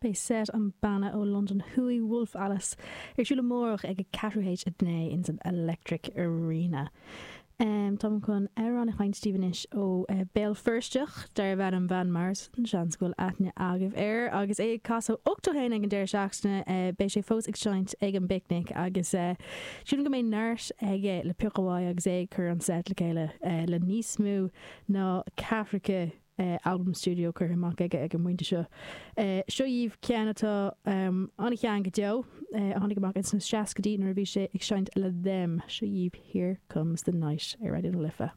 Beidh set an banna ó Londain Thuaidh, Wolf Alice, ar siúl amárach ag a ceathrú théis a naoi ins an Electric Arena. Táim chun amhrán a sheinnt daoibh anois ó Béal Feirsteach darbh ainm Van Morrison, seans go bhfuil aithne agaibh air agus é ag casadh 81 ag an deireadh seachtaine. Beidh sé fós ag seinnt ag an bPicnic agus sílim go mbeidh neart aige le piocadh uaidh agus é ag cur an set le chéile le níos mó ná ceathracha albam stiúideo curtha amach aige ag an bpointe seo. Seo dhaoibh ceann atá an-shean go deo, a tháinig amach ins na seascaidí nuair a bhí sé ag seinnt le Them. Seo dhaoibh Here Comes the Night ar Raidió na Life.